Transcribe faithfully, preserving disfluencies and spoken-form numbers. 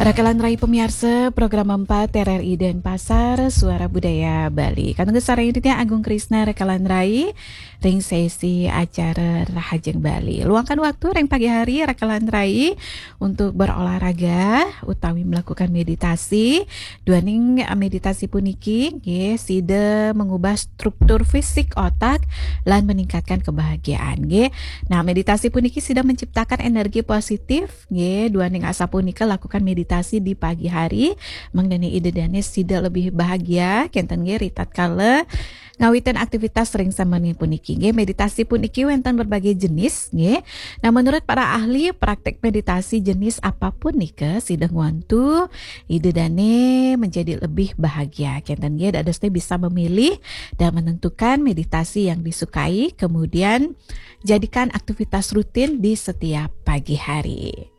Rakalan rai pamiarsa program empat R R I Denpasar, Suara Budaya Bali. Kantun sareng titiang Agung Krisna, rakalan rai, ring sesi acara Rahajeng Bali. Luangkan waktu ring pagi hari, rakalan rai, untuk berolahraga utawi melakukan meditasi. Duaning, eh, meditasi puniki, nggih, sida mengubah struktur fisik otak lan meningkatkan kebahagiaan, nggih. Nah, meditasi puniki sida menciptakan energi positif, nggih. Duaning asapunika lakukan meditasi di pagi hari, mangdane ida dane sida lebih bahagia, kenten, nggih, ritatkala ngawitin aktivitas ring samian puniki, nggih. Meditasi puniki wenten berbagai jenis, nggih. Nah, menurut para ahli, praktek meditasi jenis apapun nika sida ngwantu ida dane menjadi lebih bahagia, kenten, nggih. Dadosne bisa memilih dan menentukan meditasi yang disukai, kemudian jadikan aktivitas rutin di setiap pagi hari.